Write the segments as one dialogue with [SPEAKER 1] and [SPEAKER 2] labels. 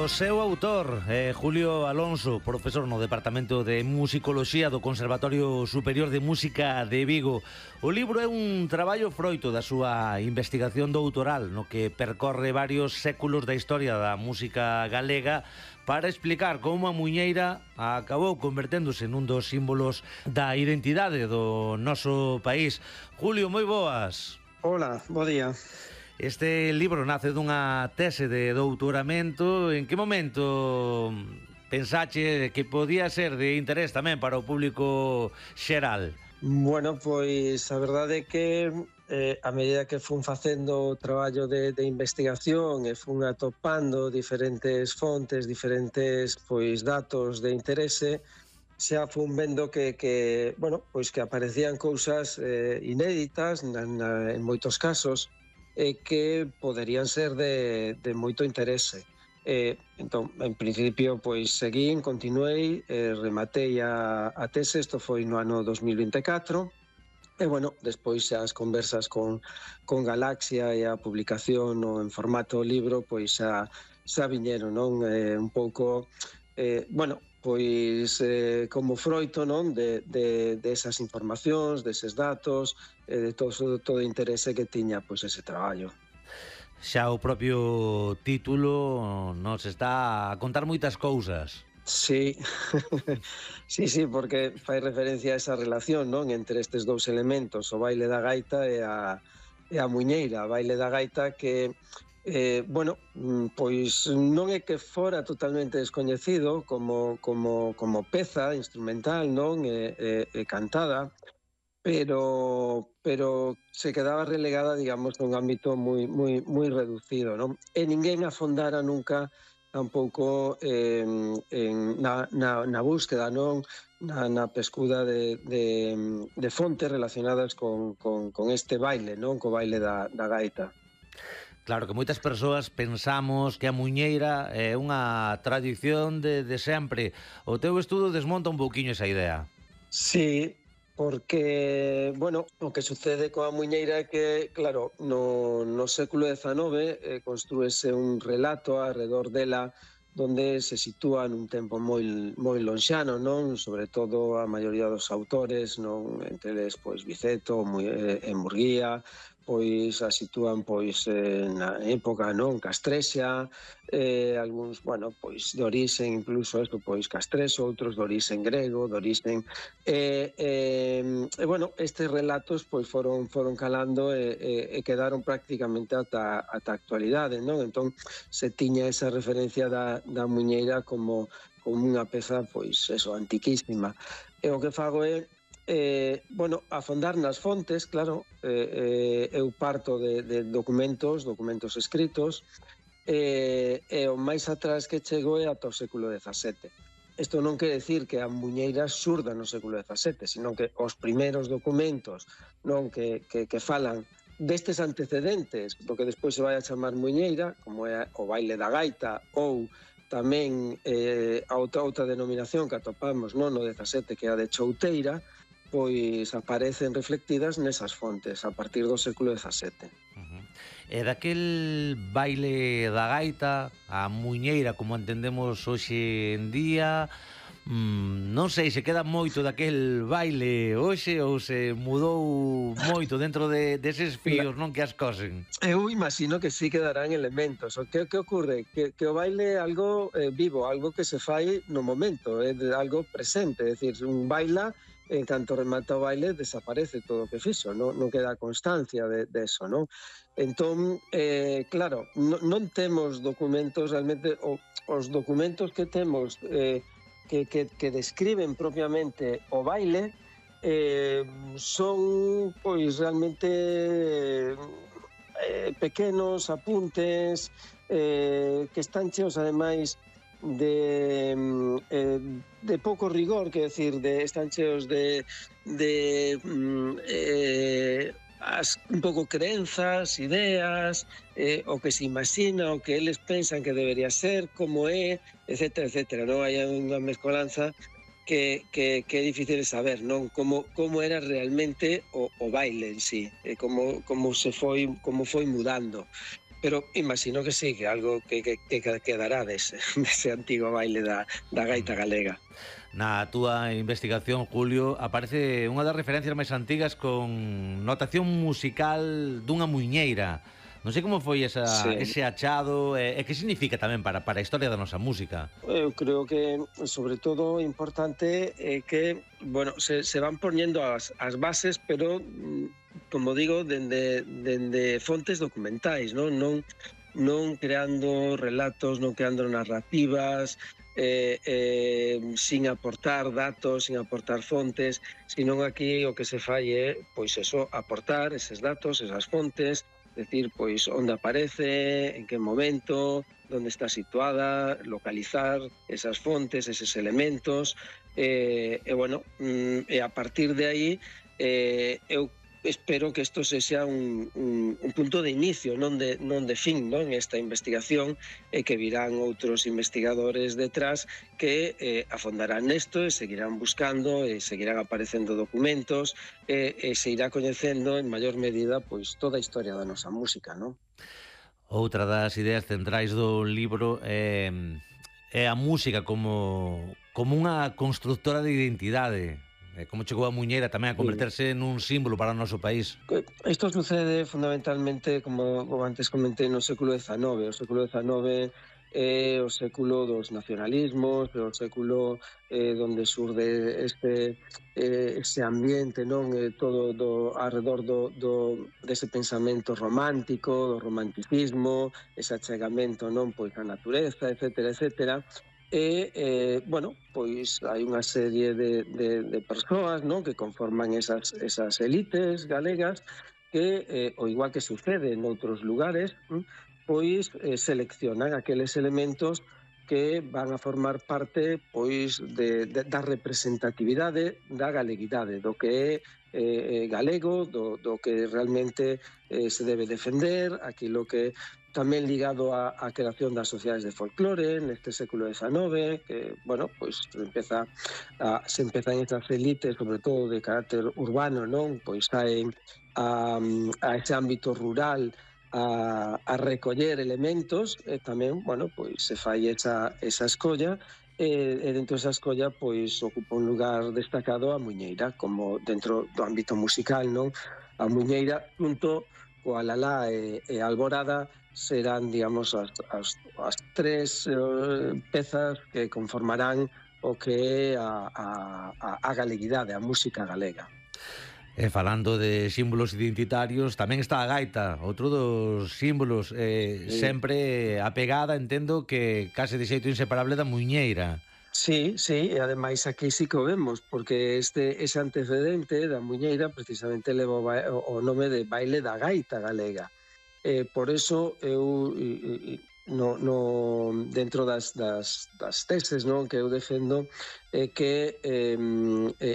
[SPEAKER 1] O seu autor, Julio Alonso, profesor no Departamento de Musicoloxía do Conservatorio Superior de Música de Vigo. O libro é un traballo froito da súa investigación doutoral, no que percorre varios séculos da historia da música galega para explicar como a muiñeira acabou converténdose nun dos símbolos da identidade do noso país. Julio, moi boas.
[SPEAKER 2] Hola, bo día.
[SPEAKER 1] Este libro nace dunha tese de doutoramento. En que momento pensache que podía ser de interés tamén para o público xeral?
[SPEAKER 2] Bueno, pois a verdade é que a medida que fun facendo o traballo de investigación e fun atopando diferentes fontes, diferentes datos de interese, xa fun vendo que aparecían cousas inéditas en moitos casos que poderían ser de moito interese. Entón, en principio, seguín, continuei, rematei a tese, isto foi no ano 2024, e, despois as conversas con Galaxia e a publicación en formato libro, xa viñeron, non? Un pouco, como froito, non? De esas informacións, deses datos, de todo o interese que tiña ese traballo.
[SPEAKER 1] Xa o propio título nos está a contar moitas cousas.
[SPEAKER 2] Sí, sí, porque fai referencia a esa relación, non? Entre estes dous elementos, o baile da gaita e a muiñeira. A baile da gaita que non é que fora totalmente descoñecido como peza instrumental, non? E cantada, pero se quedaba relegada, digamos, nun ámbito moi reducido, non? E ninguén afondara nunca tampouco na búsqueda, non? Na pescuda de fontes relacionadas con este baile, non? Co baile da gaita.
[SPEAKER 1] Claro que moitas persoas pensamos que a muiñeira é unha tradición de sempre. O teu estudo desmonta un pouquiño esa idea.
[SPEAKER 2] Sí, porque, o que sucede coa muiñeira é que, claro, no século XIX construíse un relato alrededor dela donde se sitúa nun tempo moi lonxano, non? Sobre todo a maioría dos autores, non? Entre eles, Viceto e Murguía, a sitúan na época, non? Castrexa, algúns, de orixe incluso castrexo, outros de orixe grego, de orixe... estes relatos foron calando e quedaron prácticamente ata a actualidade, non? Entón, se tiña esa referencia da muiñeira como unha peza, antiquísima. E o que fago é afondar nas fontes, claro, eu parto de documentos escritos, e o máis atrás que chego é ata o século XVII. Isto non quere decir que a muiñeira xurda no século XVII, sino que os primeiros documentos, non, que falan destes antecedentes do que despois se vai a chamar muiñeira, como é o baile da gaita ou tamén a outra denominación que atopamos no XVII, que é a de chouteira, aparecen reflectidas nesas fontes a partir do século XVII.
[SPEAKER 1] E daquel baile da gaita, a muiñeira como entendemos hoxe en día, non sei se queda moito daquel baile hoxe ou se mudou moito dentro deses fíos, non, que as cosen.
[SPEAKER 2] Eu imagino que sí quedarán elementos. O que ocorre? Que o baile é algo vivo, algo que se fai no momento, é algo presente, é dicir, un baila, en canto remata o baile desaparece todo o que fixo, non queda constancia de eso, non? Entón, claro, non temos documentos realmente, os documentos que temos que describen propiamente o baile son realmente pequenos apuntes que están cheos ademais de pouco rigor, quer decir, están cheos de un pouco crenzas, ideas, o que se imagina, o que eles pensan que debería ser, como é, etcétera, etcétera, non? Hai unha mezcolanza que é difícil de saber, non? Como era realmente o baile en sí, como foi mudando. pero imagino que sí, que algo que quedará dese antigo baile da gaita galega.
[SPEAKER 1] Na túa investigación, Julio, aparece unha das referencias máis antigas con notación musical dunha muiñeira. Non sei como foi
[SPEAKER 2] Sí.
[SPEAKER 1] ese achado e que significa tamén para a historia da nosa música.
[SPEAKER 2] Eu creo que, sobre todo, importante é que, bueno, se van poñendo as bases, pero, como digo, dende fontes documentais, non creando relatos, non creando narrativas, sin aportar datos, sin aportar fontes, senón aquí o que se fai é, pois eso, aportar eses datos, esas fontes, decir, pois, onde aparece, en que momento, onde está situada, localizar esas fontes, eses elementos, bueno, e a partir de aí, eu espero que isto sexa un punto de inicio, non de fin, non, esta investigación, e que virán outros investigadores detrás que afondarán nesto e seguirán buscando e seguirán aparecendo documentos e se irá coñecendo en maior medida pois toda a historia da nosa música, non?
[SPEAKER 1] Outra das ideas centrais do libro é a música como unha constructora de identidade. Como chegou a muiñeira tamén a
[SPEAKER 2] Sí.
[SPEAKER 1] converterse nun símbolo para o noso país.
[SPEAKER 2] Isto sucede fundamentalmente, como antes comentei, no século XIX. O século XIX é o século dos nacionalismos, é o século donde surde ese ambiente, non, todo arredor dese pensamento romántico, do romanticismo, ese achegamento, non, pois á natureza, etcétera, etcétera. E, bueno, pois hai unha serie de persoas, non, que conforman esas elites galegas que, ao igual que sucede noutros lugares, pois seleccionan aqueles elementos que van a formar parte pois da representatividade da galeguidade, do que é galego, do que realmente se debe defender, aquilo que tamén ligado á creación das sociedades de folclore neste século XIX, que, bueno, pois se empezan estas elites, sobre todo de carácter urbano, non? Pois saen a ese ámbito rural a recoller elementos e tamén, bueno, pois se fai esa escolla e dentro desa escolla pois ocupa un lugar destacado a muiñeira como dentro do ámbito musical, non? A muiñeira junto coa lalá e a alborada serán, digamos, as tres pezas que conformarán o que é a galeguidade, a música galega.
[SPEAKER 1] E falando de símbolos identitarios, tamén está a gaita, outro dos símbolos sempre apegada, entendo que case de xeito inseparable da muiñeira.
[SPEAKER 2] Sí, e ademais aquí sí que o vemos, porque ese antecedente da muiñeira precisamente leva o nome de baile da gaita galega. Por eso eu dentro das teses, non, que eu defendo que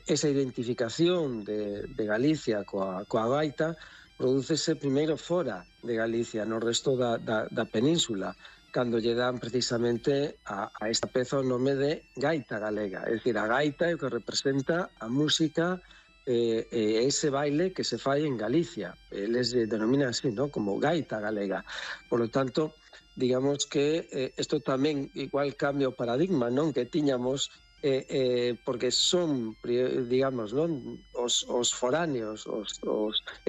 [SPEAKER 2] esa identificación de Galicia coa gaita prodúcese primeiro fora de Galicia, no resto da península, cando lle dan precisamente a esta peza o nome de gaita galega, é dicir, a gaita é o que representa a música ese baile que se fai en Galicia. Eles denominan así, ¿no?, como gaita galega. Por lo tanto, digamos que isto tamén igual cambia o paradigma, non, que tiñamos porque son, digamos, non, os foráneos,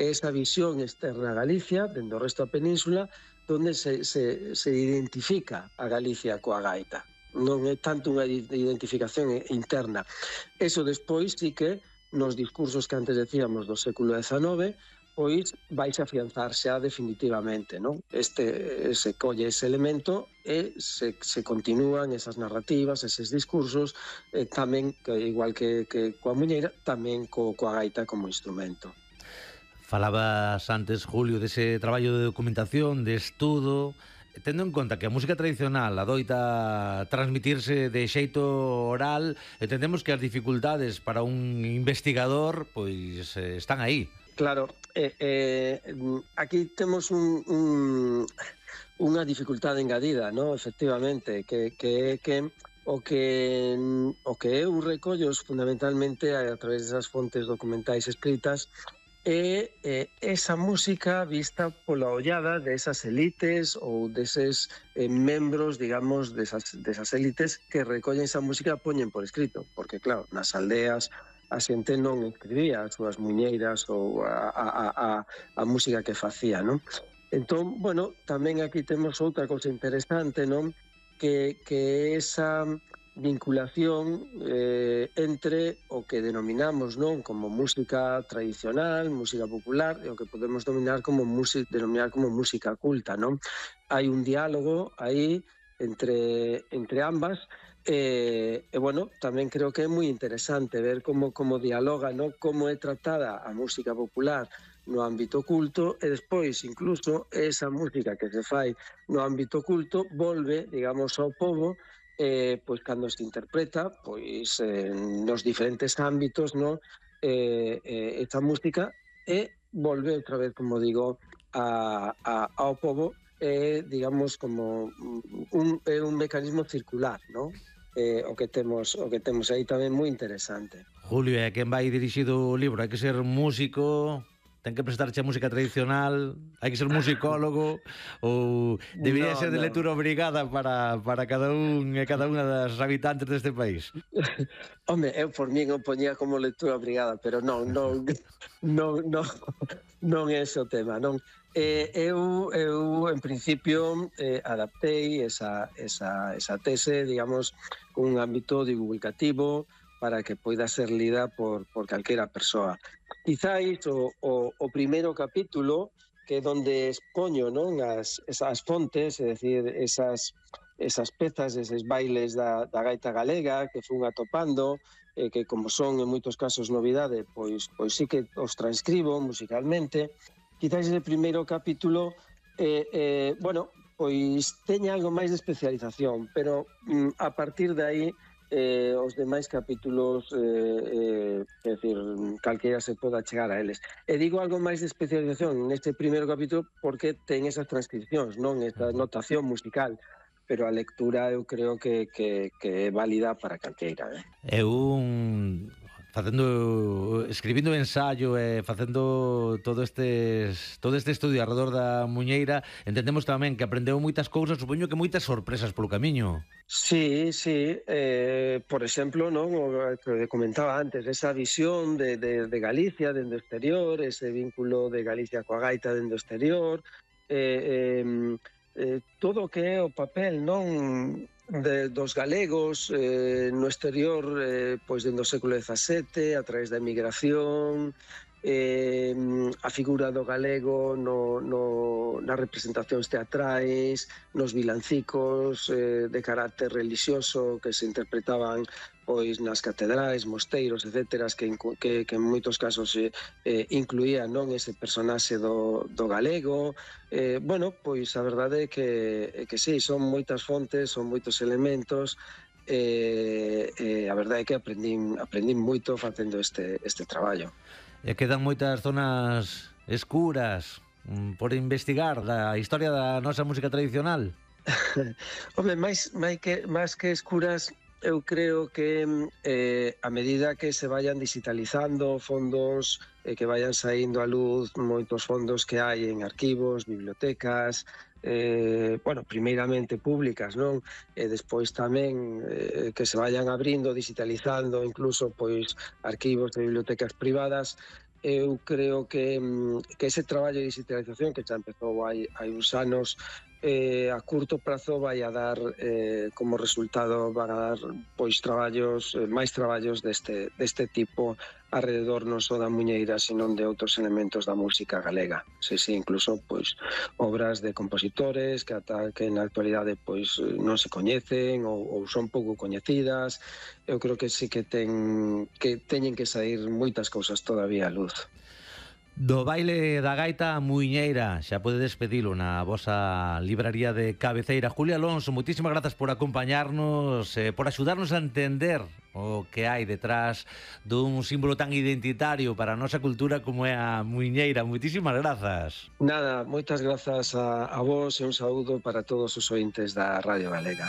[SPEAKER 2] esa visión externa a Galicia, dentro do resto da península, donde se identifica a Galicia coa gaita. Non é tanto unha identificación interna. Eso despois sí que nos discursos que antes decíamos do século XIX, pois vais a afianzar xa definitivamente, non? Se colle ese elemento e se continúan esas narrativas, eses discursos, tamén, igual que coa muiñeira, tamén coa gaita como instrumento.
[SPEAKER 1] Falabas antes, Julio, dese traballo de documentación, de estudo, tendo en conta que a música tradicional adoita transmitirse de xeito oral, entendemos que as dificultades para un investigador pois están aí.
[SPEAKER 2] Claro, aquí temos unha dificultade engadida, ¿no? Efectivamente, que o que eu recollo fundamentalmente a través desas fontes documentais escritas esa música vista pola ollada desas elites ou deses membros, digamos, desas elites que recollen esa música e poñen por escrito, porque claro, nas aldeas a xente non escribía as súas muñeiras ou a música que facía, non? Entón, bueno, tamén aquí temos outra cousa interesante, non? Que esa vinculación entre o que denominamos, non, como música tradicional, música popular, e o que podemos denominar como música culta, non? Hai un diálogo aí entre ambas bueno, tamén creo que é moi interesante ver como dialoga, non? Como é tratada a música popular no ámbito culto e despois incluso esa música que se fai no ámbito culto volve, digamos, ao pobo pois cando se interpreta pois nos diferentes ámbitos, non? Esta música volve outra vez, como digo, ao pobo digamos como un mecanismo circular, non? O que temos aí tamén moi interesante.
[SPEAKER 1] Julio, é quen vai dirixido o libro? Hai que ser músico, ten que prestarche a música tradicional, hai que ser musicólogo ou debería ser de lectura obrigada para cada un e cada unha das habitantes deste país?
[SPEAKER 2] Home, eu por min o poñía como lectura obrigada, pero non é ese o tema, non? Eu en principio adaptei esa tese, digamos, con un ámbito divulgativo para que poida ser lida por calquera persoa. Quizáis o primeiro capítulo, que é onde expoño, non, esas fontes, é dicir, esas pezas, eses bailes da gaita galega que fun atopando, que como son en moitos casos novidade, pois sí que os transcribo musicalmente. Quizáis ese primeiro capítulo, bueno, pois teña algo máis de especialización, pero a partir de aí os demais capítulos, é dicir, calquera se poda chegar a eles. E digo algo máis de especialización neste primeiro capítulo porque ten esas transcripcións, non? Esta notación musical, pero a lectura eu creo que é válida para calqueira.
[SPEAKER 1] Escribindo ensayo e facendo todo este estudio alrededor da muñeira, entendemos tamén que aprendeu moitas cousas, supoño que moitas sorpresas polo camiño.
[SPEAKER 2] Sí, por exemplo, non, o que comentaba antes, esa visión de Galicia dende o exterior, ese vínculo de Galicia coa gaita dende o exterior, todo o que é o papel, non, dos galegos no exterior, pois dende o século XVII, a través da emigración, a figura do galego nas representacións teatrais, nos vilancicos de carácter relixioso que se interpretaban pois nas catedrais, mosteiros, etcétera, que en moitos casos incluían, non, ese personaxe do galego. Bueno, pois a verdade é que sí, son moitas fontes, son moitos elementos, a verdade é que aprendín moito facendo este traballo.
[SPEAKER 1] E quedan moitas zonas escuras por investigar da historia da nosa música tradicional.
[SPEAKER 2] Home, máis que escuras, eu creo que a medida que se vayan digitalizando fondos, que vayan saindo a luz moitos fondos que hai en arquivos, bibliotecas, bueno, primeiramente públicas, non? E despois tamén que se vayan abrindo, digitalizando, incluso pois arquivos de bibliotecas privadas. Eu creo que ese traballo de digitalización que xa empezou hai uns anos, a curto prazo vai a dar como resultado, van a dar pois máis traballos deste tipo alrededor non só da muñeira, senón de outros elementos da música galega. Sí, incluso pois obras de compositores que na actualidade pois non se coñecen ou son pouco coñecidas. Eu creo que sí que teñen que sair moitas cousas todavía a luz.
[SPEAKER 1] Do baile da gaita a muiñeira, xa pode despedilo na vosa libraría de cabeceira. Julio Alonso, moitísimas grazas por acompañarnos, por axudarnos a entender o que hai detrás dun símbolo tan identitario para a nosa cultura como é a muiñeira. Moitísimas grazas.
[SPEAKER 2] Nada, moitas grazas a vos e un saúdo para todos os ointes da Radio Galega.